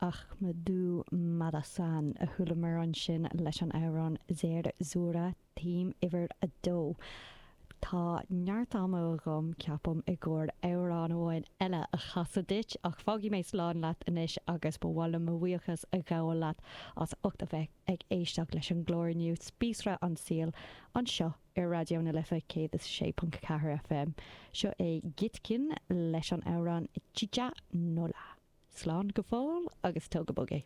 Ahmadou Madassane a chualamar ansin leis an amhrán Zerzura, Theme uimhir a dó. Tá neart ama agam, ceapaim, i gcomhair amhrán amháin eile a chasadh duit, ach fágfaidh mé slán leat anois agus ba mhaith liom mo bhuíochas a ghabháil leat as ucht a bheith ag éisteacht leis an gclár inniu, Spíosra an tSaoil, anseo ar Raidió na Life 106.4 FM. Seo é Gitkhin leis an amhrán Chicha Nola. Slán go fóill agus tóg go bog é.